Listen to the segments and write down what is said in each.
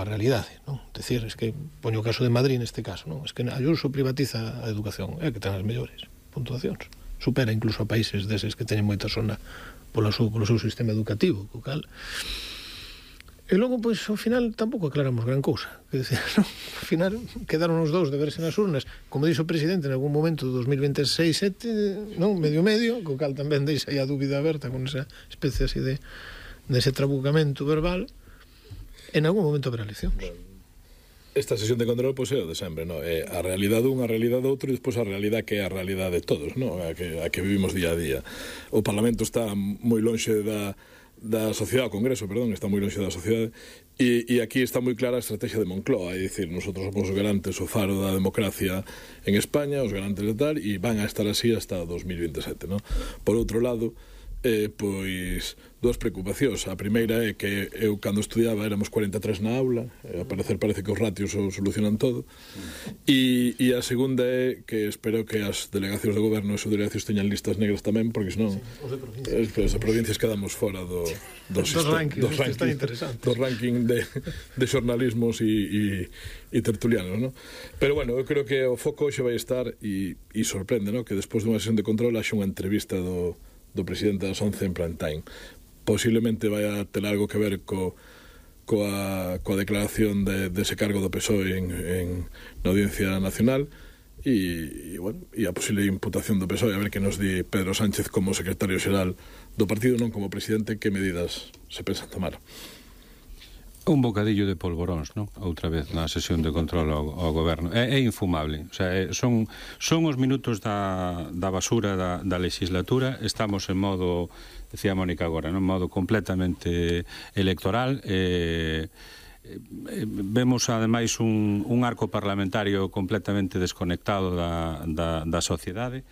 coa realidade, non? Decir, es que poño o caso de Madrid neste caso, non? Es que Ayuso privatiza a educación, é que ten as mellores puntuacións, supera incluso a países deses que teñen moita zona polo seu sistema educativo, co cal. E logo, pois, ao final tampouco aclaramos gran cousa, que decir, non? Ao final quedaron os dous de verse nas urnas, como dixo o presidente en algún momento do 2026-7, non? Medio, co cal tamén deixa aí a dúbida aberta con esa especie así de ese trabucamento verbal. En algún momento habrá eleccións. Esta sesión de control, pois, é o de sempre, non? É a realidade un, a realidade outro, e despois a realidade que é a realidade de todos, non? A que vivimos día a día. O Parlamento está moi lonxe da sociedade, o Congreso, perdón, está moi lonxe da sociedade, e aquí está moi clara a estrategia de Moncloa, é dicir, nosotros somos os garantes, o faro da democracia en España, os garantes de tal, e van a estar así hasta 2027, non? Por outro lado, pois, dúas preocupacións. A primeira é que eu, cando estudiaba, éramos 43 na aula, a parecer parece que os ratios o solucionan todo, e a segunda é que espero que as delegacións de goberno e as delegacións teñan listas negras tamén, porque senón os de provincias quedamos fora dos ranking de xornalismos e tertulianos, non? Pero, bueno, eu creo que o foco hoxe vai estar, e sorprende, non? Que despois dunha sesión de control haxe unha entrevista do presidente das 11 en prime time. Posiblemente vai a ter algo que ver coa declaración dese cargo do PSOE na Audiencia Nacional, e a posible imputación do PSOE, a ver que nos di Pedro Sánchez como secretario xeral do partido, non como presidente, que medidas se pensan tomar. Un bocadillo de polvoróns, non? Outra vez na sesión de control ao goberno. É infumable. O sea, son os minutos da basura da legislatura. Estamos en modo, decía Mónica agora, en modo completamente electoral. Vemos ademais un arco parlamentario completamente desconectado da sociedade,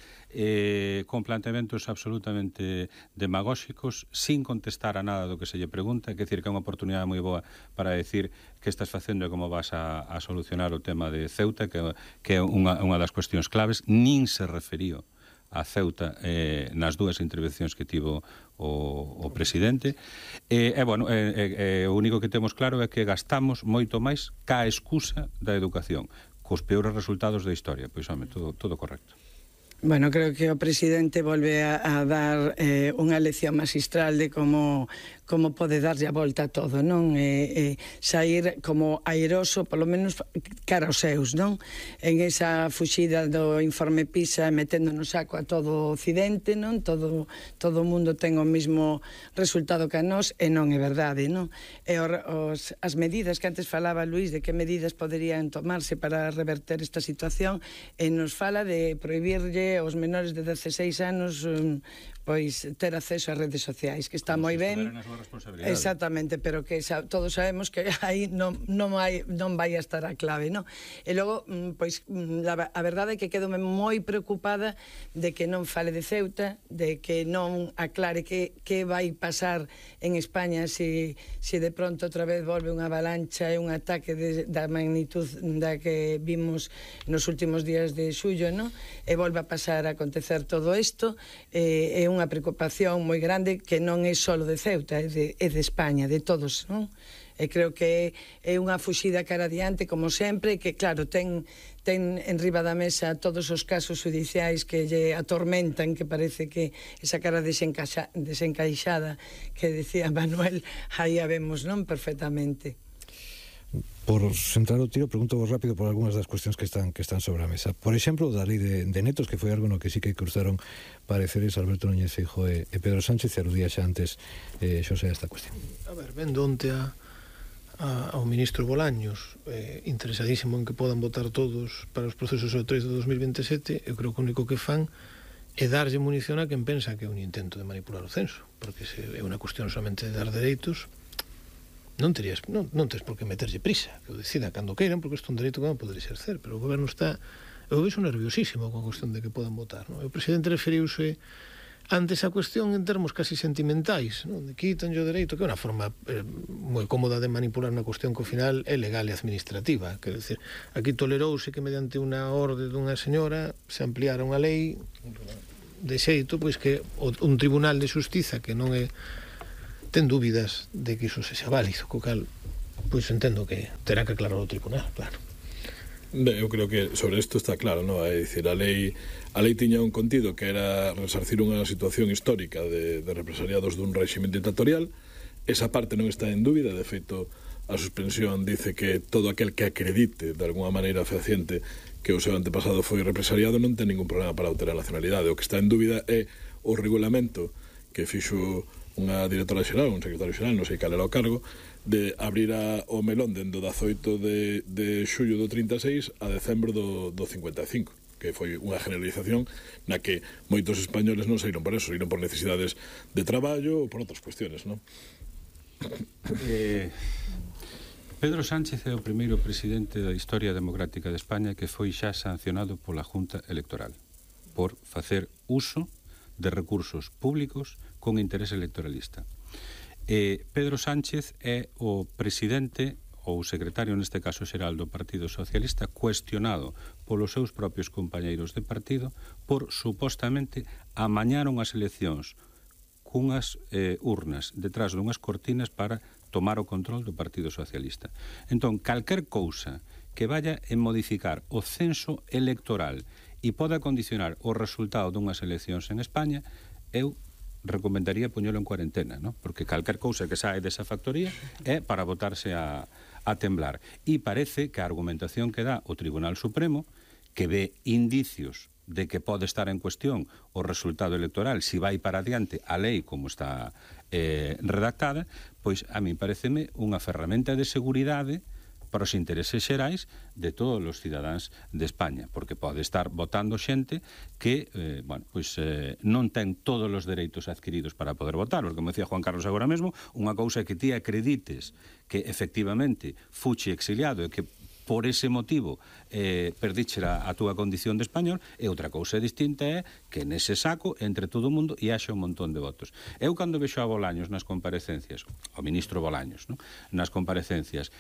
con planteamentos absolutamente demagóxicos, sin contestar a nada do que se lle pregunta. Quer decir que é unha oportunidade moi boa para decir que estás facendo e como vas a solucionar o tema de Ceuta, que é unha das cuestións claves. Nin se referío a Ceuta nas dúas intervencións que tivo o presidente. O único que temos claro é que gastamos moito máis ca excusa da educación, cos peores resultados da historia. Pois, home, todo correcto. Bueno, creo que o presidente volve a dar unha lección magistral de como pode darlle a volta a todo, non? Sair como airoso, polo menos cara aos seus, non? En esa fuxida do informe PISA, metendo no saco a todo o Occidente, non? Todo o mundo ten o mesmo resultado que a nós, e non é verdade, non? E as medidas que antes falaba Luís, de que medidas poderían tomarse para reverter esta situación, e nos fala de prohibirlle aos menores de 16 anos pois ter acceso ás redes sociais, que está moi ben. Exactamente, pero que todos sabemos que aí non vai a estar a clave, non? E logo, pois, a verdade é que quedo moi preocupada de que non fale de Ceuta, de que non aclare que vai pasar en España se de pronto outra vez volve unha avalancha e un ataque da magnitud da que vimos nos últimos días de xullo, non? E volve a pasar a acontecer todo isto. É unha preocupación moi grande, que non é só de Ceuta, é de España, de todos, non? E creo que é unha fuxida cara adiante, como sempre, que, claro, ten en riba da mesa todos os casos judiciais que lle atormentan, que parece que esa cara desencaixada que decía Manuel, aí a vemos, non? Perfectamente. Por centrar o tiro, pregunto vos rápido por algunhas das cuestións que están sobre a mesa. Por exemplo, da lei de netos, que foi algo no que sí que cruzaron pareceres Alberto Núñez Feijóo e Pedro Sánchez, e aludía xa antes Xosé a esta cuestión. A ver, vendo onte ao ministro Bolaños, interesadísimo en que podan votar todos para os procesos electorais de 2027, eu creo que o único que fan é darlle munición a quen pensa que é un intento de manipular o censo, porque se é unha cuestión somente de dar dereitos, non tens por que meterlle prisa, que o decida cando queiran, porque isto é un dereito que non poder exercer, pero o goberno está, eu vexo nerviosísimo con a cuestión de que podan votar, non? O presidente referiuse antes a cuestión en termos casi sentimentais, non? De quitanlle o dereito, que é unha forma moi cómoda de manipular unha cuestión que ao final é legal e administrativa, quer dizer, aquí tolerouse que mediante unha orde dunha señora se ampliara unha lei de xeito, pois que un tribunal de xustiza que non é ten dúbidas de que iso sexa válido, co cal pois entendo que terá que aclarar o tribunal, claro. Eu creo que sobre isto está claro, ¿no? É dicir, a lei tiña un contido que era resarcir unha situación histórica de represaliados dun réxime dictatorial. Esa parte non está en dúbida, de feito a suspensión dice que todo aquel que acredite de alguna maneira fehaciente que o seu antepasado foi represaliado non ten ningún problema para obter a nacionalidade. O que está en dúbida é o regulamento que fixo unha directora xeral, un secretario xeral, non sei cal era o cargo, de abrir o melón dende o 18 de xullo do 36 a decembro do 55, que foi unha generalización na que moitos españoles non saíron por eso, saíron por necesidades de traballo ou por outras cuestiones, non? Pedro Sánchez é o primeiro presidente da historia democrática de España que foi xa sancionado pola Junta Electoral por facer uso de recursos públicos con interés electoralista. Pedro Sánchez é o presidente ou secretario, neste caso xeral, do Partido Socialista, cuestionado polos seus propios compañeiros de partido por supostamente amañar unhas eleccións cunhas urnas detrás dunhas cortinas para tomar o control do Partido Socialista. Entón, calquer cousa que vaya en modificar o censo electoral e poda condicionar o resultado dunhas eleccións en España, eu recomendaría poñelo en cuarentena, ¿no? Porque calquer cousa que sae desa factoría é para botarse a temblar. E parece que a argumentación que dá o Tribunal Supremo, que ve indicios de que pode estar en cuestión o resultado electoral si vai para adiante a lei como está redactada, pois a mí pareceme unha ferramenta de seguridade para os intereses xerais de todos os cidadáns de España, porque pode estar votando xente que, non ten todos os dereitos adquiridos para poder votar, porque, como decía Juan Carlos agora mesmo, unha cousa que ti acredites que efectivamente fuche exiliado e que por ese motivo perdichera a túa condición de español, e outra cousa distinta é que nese saco entre todo o mundo e haxa un montón de votos. Eu cando vexo a Bolaños nas comparecencias, o ministro Bolaños, ¿no? Nas comparecencias,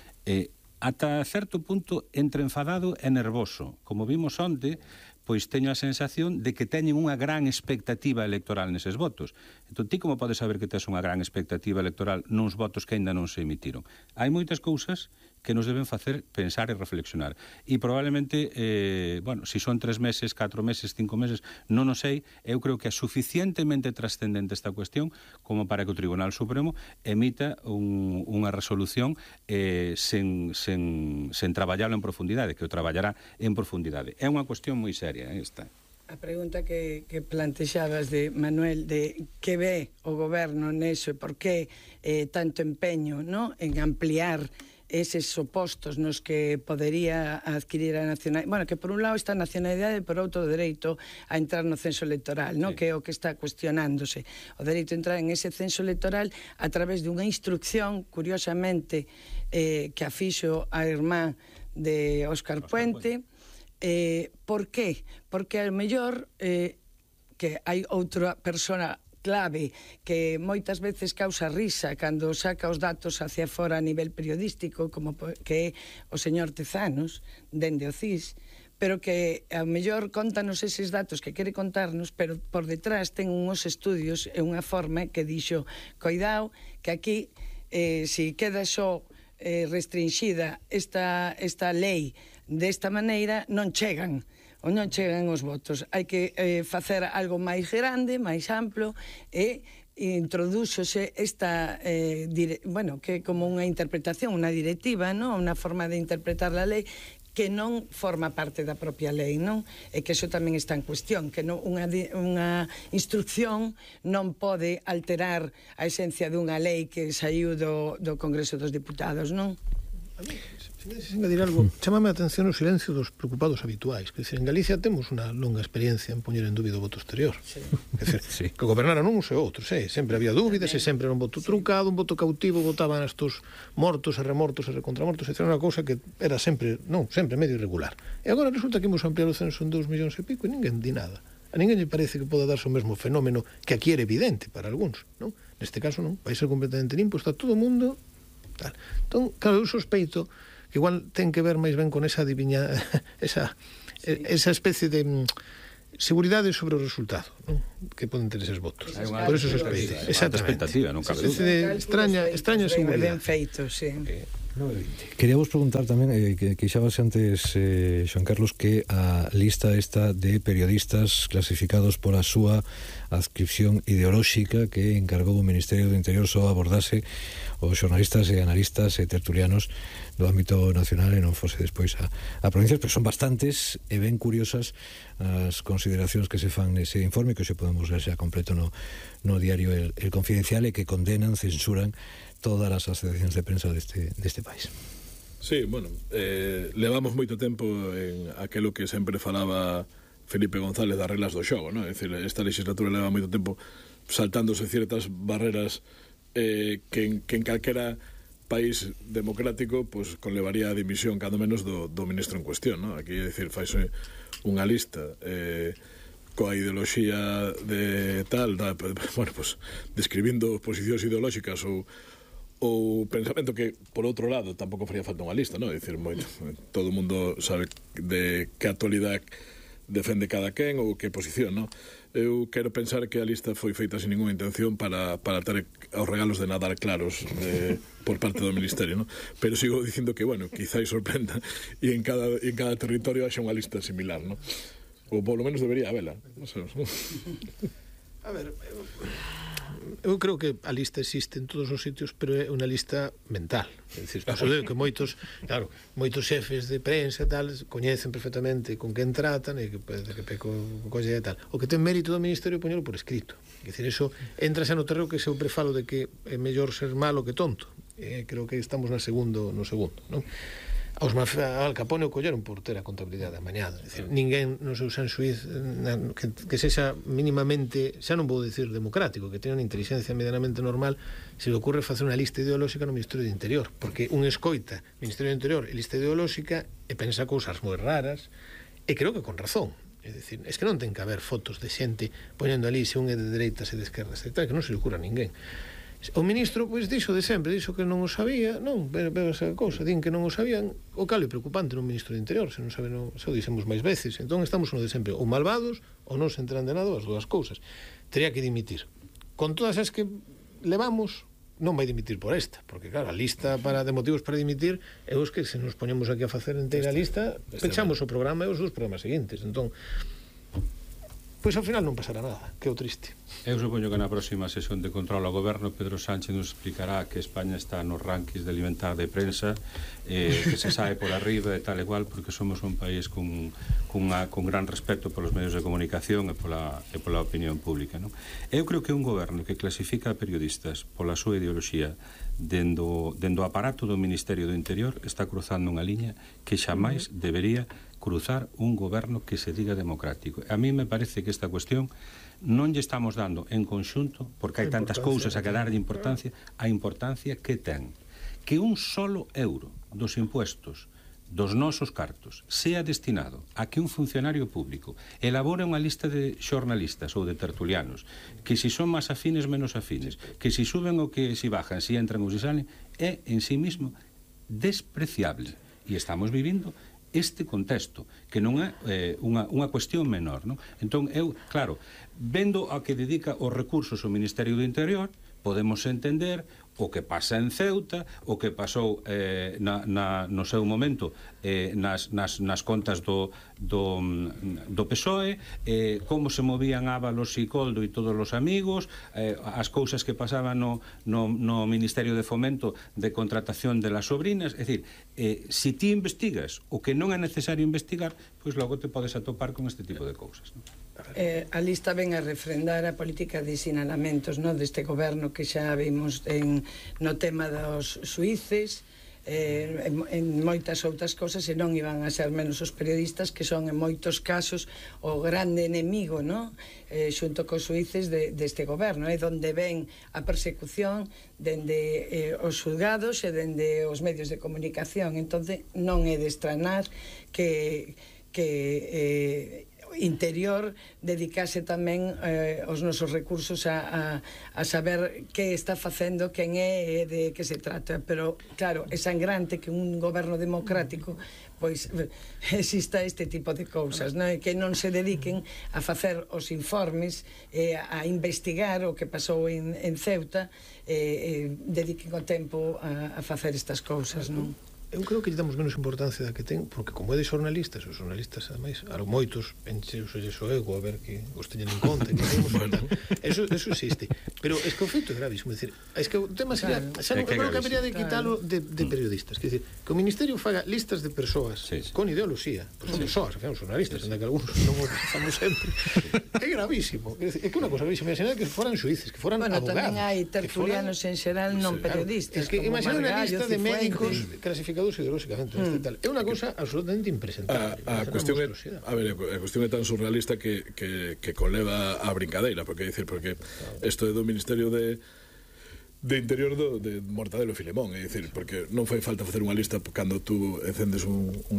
ata certo punto entre enfadado e nervoso. Como vimos onte, pois teño a sensación de que teñen unha gran expectativa electoral neses votos. Entón, ti como podes saber que tes unha gran expectativa electoral nuns votos que aínda non se emitiron? Hai moitas cousas que nos deben facer pensar e reflexionar. E probablemente, si son 3 meses, 4 meses, 5 meses, non o sei, eu creo que é suficientemente trascendente esta cuestión como para que o Tribunal Supremo emita unha resolución sen traballalo en profundidade, que o traballará en profundidade. É unha cuestión moi seria esta. A pregunta que plantexabas de Manuel, de que ve o goberno neso e por que tanto empeño, ¿no?, en ampliar eses opostos nos que podería adquirir a nacionalidade, bueno, que por un lado está a nacionalidade e por outro o dereito a entrar no censo electoral, ¿no? Sí. Que é o que está cuestionándose, o dereito a entrar en ese censo electoral a través dunha instrucción, curiosamente, que a fixo a irmá de Óscar Puente. Por qué? Porque ao mellor que hai outra persona clave que moitas veces causa risa cando saca os datos hacia fora a nivel periodístico, como que é o señor Tezanos, dende o CIS, pero que ao mellor contanos eses datos que quere contarnos, pero por detrás ten uns estudios e unha forma que dixo, coidado, que aquí, se queda só restringida esta lei desta maneira, non chegan os votos. Hai que facer algo máis grande, máis amplo, e introdúxose esta, que é como unha interpretación, unha directiva, non? Unha forma de interpretar a lei que non forma parte da propia lei, non? E que iso tamén está en cuestión, que unha instrucción non pode alterar a esencia dunha lei que saiu do Congreso dos Diputados, non? A mí, se engadir algo, chámame a atención o silencio dos preocupados habituais. Que en Galicia temos unha longa experiencia en poñer en dúbido o voto exterior. Sí. Sí. Que gobernaran uns e outros, sempre había dúbidas, e sempre era un voto truncado, un voto cautivo, votaban estos mortos e remortos e recontramortos, era unha cousa que era sempre medio irregular. E agora resulta que imos ampliar o censo en 2 millóns e pico e ninguén di nada. A ninguén lle parece que poda darse o mesmo fenómeno que aquí era evidente para algúns, non? Neste caso non, vai ser completamente limpo, está todo o mundo tal. Entón, claro, eu sospeito que igual ten que ver máis ben con esa esa especie de seguridade sobre o resultado, non? Que poden ter eses votos. Por eso sospeito. Exactamente. Expectativa, non cabe dúbida. Extraña seguridade. Ben feito, sí. 9:20. Queríamos preguntar tamén, que quixabas antes, Xoan Carlos, que a lista esta de periodistas clasificados pola súa adscripción ideolóxica que encargou o Ministerio do Interior só abordase os xornalistas e analistas e tertulianos do ámbito nacional e non fose despois a provincias, pero son bastantes e ben curiosas as consideracións que se fan nese informe, que hoxe podemos ler xa completo no diario El Confidencial, e que condenan, censuran todas as asociacións de prensa deste país. Sí, bueno, levamos moito tempo en aquelo que sempre falaba Felipe González das reglas do xogo, non? É dicir, esta legislatura leva moito tempo saltándose ciertas barreras que en calquera país democrático pues conlevaría a dimisión cando menos do ministro en cuestión, non? Aquí, é dicir, faise unha lista coa ideoloxía de tal, bueno, pues describindo posicións ideolóxicas ou pensamento que, por outro lado, tampouco faría falta unha lista, non? É dicir, todo o mundo sabe de que actualidade defende cada quen ou que posición, non? Eu quero pensar que a lista foi feita sin ninguna intención para ter os regalos de Nadal claros por parte do Ministerio, non? Pero sigo dicindo que, bueno, quizás sorprenda e en cada territorio haxa unha lista similar, non? Ou polo menos debería habela. A ver, eu creo que a lista existe en todos os sitios, pero é unha lista mental. É dicir, que moitos xefes de prensa e tal coñecen perfectamente con quen tratan e que peco colle e tal. O que ten mérito do Ministerio poñelo por escrito. É dicir, eso entra xa no terreo que sempre falo de que é mellor ser malo que tonto. Creo que estamos no segundo, non? Aos Al Capone o colleron por ter a contabilidade amañada. É dicir, ninguén no seu san xuiz que sexa mínimamente, xa non vou dicir democrático, que teña unha inteligencia medianamente normal, se le ocurre facer unha lista ideolóxica no Ministerio do Interior, porque un escoita Ministerio do Interior e lista ideolóxica e pensa cousas moi raras, e creo que con razón. É dicir, es que non ten que haber fotos de xente poñendo ali se un é de dereitas e de esquerdas, e tal, que non se le ocurra a ninguén. O ministro, pois, dixo de sempre, dixo que non o sabía, non, pero esa cousa, din que non o sabían, o cal é preocupante no ministro do Interior, se non sabe, xa o dixemos máis veces, entón estamos no de sempre, ou malvados, ou non se enteran de nada, as dúas cousas. Tería que dimitir. Con todas as que levamos, non vai dimitir por esta, porque claro, a lista de motivos para dimitir é os que se nos poñemos aquí a facer inteira lista, pechamos o programa e os dos programas seguintes, entón pois ao final non pasará nada, que é o triste. Eu supoño que na próxima sesión de control ao goberno Pedro Sánchez nos explicará que España está nos rankings de alimentar de prensa, que se sabe por arriba e tal e cual, porque somos un país con gran respeto polos medios de comunicación e pola opinión pública, non? Eu creo que un goberno que clasifica periodistas pola súa ideoloxía dendo o aparato do Ministerio do Interior está cruzando unha liña que xamais debería cruzar un goberno que se diga democrático. A mí me parece que esta cuestión non lle estamos dando en conxunto, porque hai tantas cousas a que darlle importancia, a importancia que ten que un solo euro dos impuestos dos nosos cartos sea destinado a que un funcionario público elabore unha lista de xornalistas ou de tertulianos, que si son máis afines, menos afines, que si suben ou que si bajan, si entran ou si salen, é en sí mismo despreciable. E estamos vivindo este contexto, que non é unha cuestión menor, non? Entón, eu, claro, vendo a que dedica os recursos o Ministerio do Interior, podemos entender o que pasa en Ceuta, o que pasou no seu momento nas contas do PSOE, como se movían Ábalos e Coldo e todos os amigos, as cousas que pasaban no Ministerio de Fomento de contratación de las sobrinas. É dicir, se ti investigas o que non é necesario investigar, pois logo te podes atopar con este tipo de cousas, non? A lista ven a refrendar a política de sinalamentos, no, deste goberno que xa vimos no tema dos xuíces, en moitas outras cosas, e non iban a ser menos os periodistas, que son en moitos casos o grande enemigo, no? Xunto cos xuíces deste goberno, donde ven a persecución dende os xulgados e dende os medios de comunicación. Entón non é de estranar que Interior dedicase tamén os nosos recursos a saber que está facendo, quen é e de que se trata. Pero, claro, é sangrante que un goberno democrático pois exista este tipo de cousas, non? Que non se dediquen a facer os informes, a investigar o que pasou en Ceuta, dediquen o tempo a facer estas cousas, non? Eu creo que lle damos menos importancia da que ten, porque como é de xornalistas, os xornalistas, ademais, moitos encheuselles o ego a ver que os teñen en conta, que temos bueno. Eso existe. Pero es que o feito é gravísimo, decir, es que o tema sería, xa non creo que habería de quitalo de periodistas, que decir, que o Ministerio faga listas de persoas con ideoloxía, pues son persoas, que son xornalistas, en que algúns non o usamos sempre. É gravísimo, é que unha cosa gravísima, imaginar que foran xuíces, que foran abogados. Bueno, tamén hai tertulianos en xeral non periodistas. Es que imaginar unha lista de médicos clasificados ideolóxicamente, é unha cosa absolutamente impresentable. A cuestión é tan surrealista que conleva a brincadeira, porque isto é do Ministerio de Interior de Mortadelo e Filemón, é dicir, porque non fai falta facer unha lista cando tú encendes un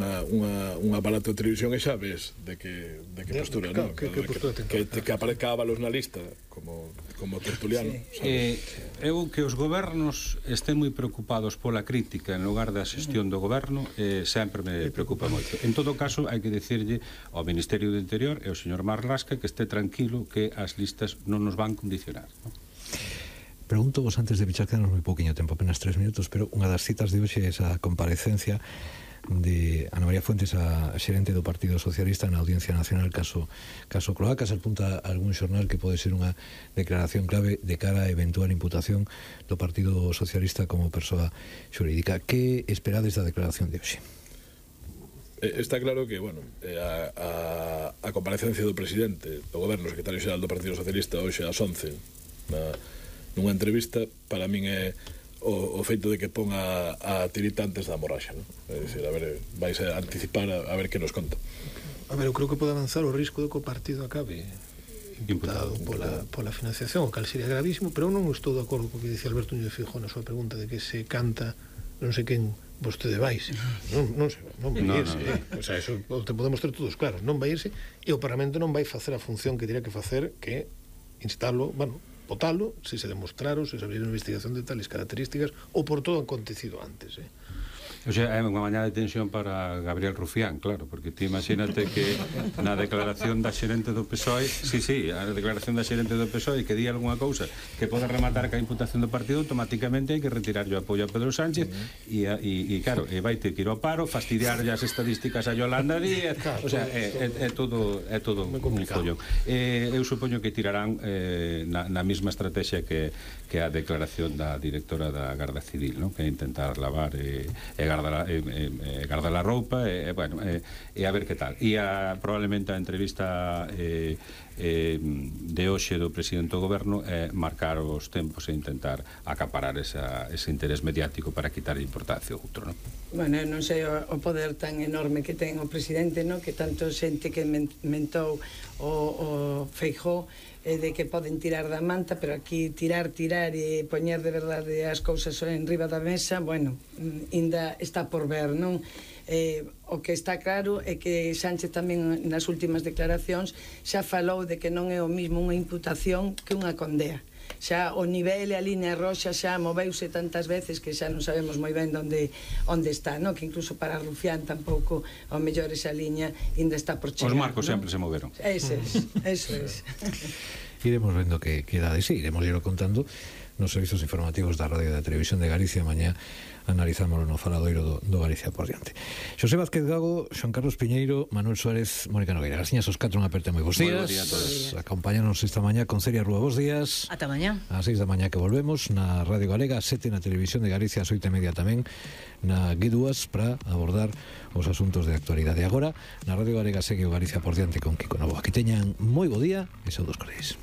aparato de televisión e xa ves de que postura, non? Que aparezca Ábalos na lista como tertuliano. Eu que os gobernos estén moi preocupados pola crítica en lugar da xestión do goberno sempre me preocupa moito. En todo caso, hai que dicirlle ao Ministerio do Interior e ao señor Marlasca que este tranquilo que as listas non nos van condicionar, non? Pregunto vos antes de pichar, quedanos moi pouquiño tempo, apenas 3 minutos, pero unha das citas de hoxe é esa comparecencia de Ana María Fuentes, a xerente do Partido Socialista na Audiencia Nacional caso Cloacas. Apunta algún xornal que pode ser unha declaración clave de cara a eventual imputación do Partido Socialista como persoa xurídica. Que esperades da declaración de hoxe? Está claro que, bueno, a comparecencia do presidente do goberno, secretario xeral do Partido Socialista hoxe ás 11 nunha entrevista, para min é o feito de que ponga a tirita antes da morraxa, non? É dicir, a ver, vais a anticipar a ver que nos conta. A ver, eu creo que pode avanzar o risco de que o partido acabe imputado pola financiación, o cal sería gravísimo, pero eu non estou de acordo co que dice Alberto Núñez Feijóo na súa pregunta de que se canta non sei quen vostede vais. Non vai irse. O sea, eso te podemos ter todos claros, non vai irse, e o Parlamento non vai facer a función que diría que facer, que instalo, bueno, votalo, se se demostraron, se se abriu unha investigación de tales características ou por todo acontecido antes. O sea, é unha mañá de tensión para Gabriel Rufián, claro, porque ti imagínate que na declaración da xerente do PSOE, a declaración da xerente do PSOE que di algunha cousa que pode rematar ca imputación do partido, automáticamente hai que retirar o apoio a Pedro Sánchez e claro, vai ter que ir ao paro, fastidiar as estadísticas a Yolanda Díaz, o sea, é todo un follón. Eu supoño que tirarán na mesma estrategia que a declaración da directora da Garda Civil, que é intentar lavar guardar a roupa e a ver que tal. E probablemente a entrevista de hoxe do presidente do goberno é marcar os tempos e intentar acaparar ese interés mediático para quitar importancia ao outro, non? Bueno, non sei o poder tan enorme que ten o presidente, non? Que tanto xente que mentou o Feijóo de que poden tirar da manta, pero aquí tirar e poñer de verdade as cousas en riba da mesa, bueno, ainda está por ver, non? O que está claro é que Sánchez tamén nas últimas declaracións xa falou de que non é o mismo unha imputación que unha condea. Xa o nivel e a línea roxa xa moveuse tantas veces que xa non sabemos moi ben onde está, non? Que incluso para Rufián tampouco ao mellor esa liña ainda está por chegar. Os marcos sempre se moveron. Eso es. Iremos vendo que queda de sí, iremos irlo contando nos servizos informativos da Radio e da Televisión de Galicia. Mañá analizámoslo no faladoiro do Galicia por diante. Xosé Vázquez Gago, Xoan Carlos Piñeiro, Manuel Suárez, Mónica Nogueira. Gasiñas os 4, unha aperta moi bons días. Acompáñanos esta mañá con Celia Rúa, bons días. Ata mañá. A 6 da mañá que volvemos na Radio Galega, a 7 na Televisión de Galicia, a 8:30 tamén na Guiduas para abordar os asuntos de actualidade. Agora, na Radio Galega segue o Galicia por diante con Kiko Novo. Aquí teñan moi bo día e saúdos cordiais.